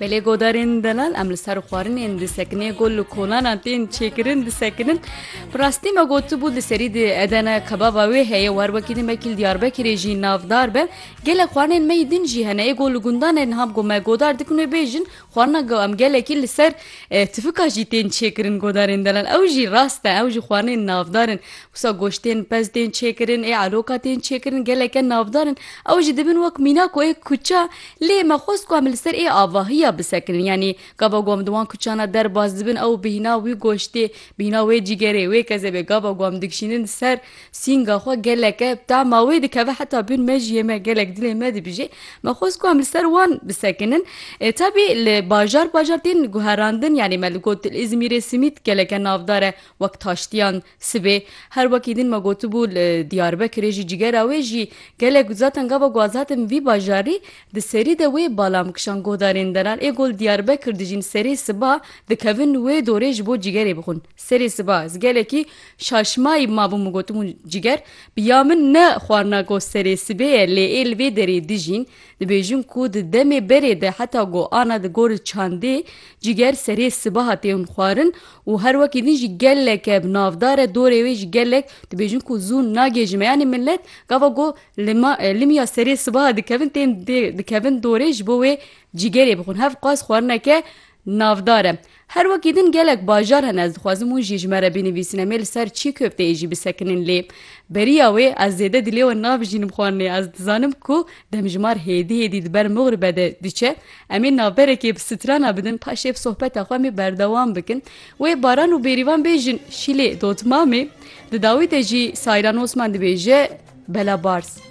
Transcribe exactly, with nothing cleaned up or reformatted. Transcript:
Belê godarên delal, em li ser xwarinên disekine, got li kolanan tên çêkirin disekinin. Bi rastî me gotibû di serî di Edene kebaba wê heye, wer wekî din belkî li Diyarbekirê jî navdar be. Gelek xwarinên me yî din jî hene, ê got li gundan e, niha got me godar dikin wê bêjin, xwarina ge-, em gelekî li ser, e, tifika jî tên çêkirin godarên delal. Ew jî rast e, ew jî xwarinên navdar in. Wisa goştên pez tên çêkirin, ê eloka tên çêkirin, geleke navdar in. Ew jî dibin wek mîna ku ê kuça, lê me xwest ku em li ser ê avahiya bisekinin. Yanî gava ku em di wan kuçana derbas dibin, ew bihîna wî goştê, bihîna wê cîgerê, wê kezebê, gava ku em dikişînin ser sînga xwe, geleke tama wê dikeve, heta bûn me jî yê me gelek dilê me dibijê. Me xwest ku em li ser wan bisekinin. E, tabî li bajar bajar tên guherandin, yanî me li got li Îzmîrê simît geleke navdar e, wek taştiyan sibê. Her wekî din me gotibû li Diyarbekirê jî cigera wê jî gelek, zaten gava ku ez hatim vî bajarî, di serî de wê bala min kişand godarên delal. Ê got li Diyarbekir dijîn, serê siba dikevin wê dorê ji bo cigerê bixwin. Serê siba ez gelekî şaşmayî mabûm, min gotibûn ciger bi ya min ne xwarina ku serê sibê ye, lê ê li vê derê dijîn. Dibêjin ku di demê berê de heta ku ana di gor çandê ciger serê sibaha tên xwarin û her wekî din jî geleke bi navdar e, dorê wê jî gelek dibêjin ku zû nagêjime. Yanî millet gava ku lima, e, limiya serê sibaha dikevin, tên dê-, dikevin dorê ji bo wê cigerê bixwin. Hev qas xwarineke navdar e. Her wekî din gelek bajar hene, ez dixwazim hûn jî ji me re binivîsin, em ê li ser çî köfteyê jî bisekinin, lê beriya wê ez zêde dilê we nabijînim xwarinê. Ez dizanim ku demjimar hêdî hêdî di ber Muxribe de diçe. Em ê navberekê bi strana bidin, paşê bi sohbeta xwe em ê berdewam bikin. Wê Baran û Bêrîvan bêjin Şîlê Dotmamê, di dawî de jî Sayran Osman dibêje Bela Bars.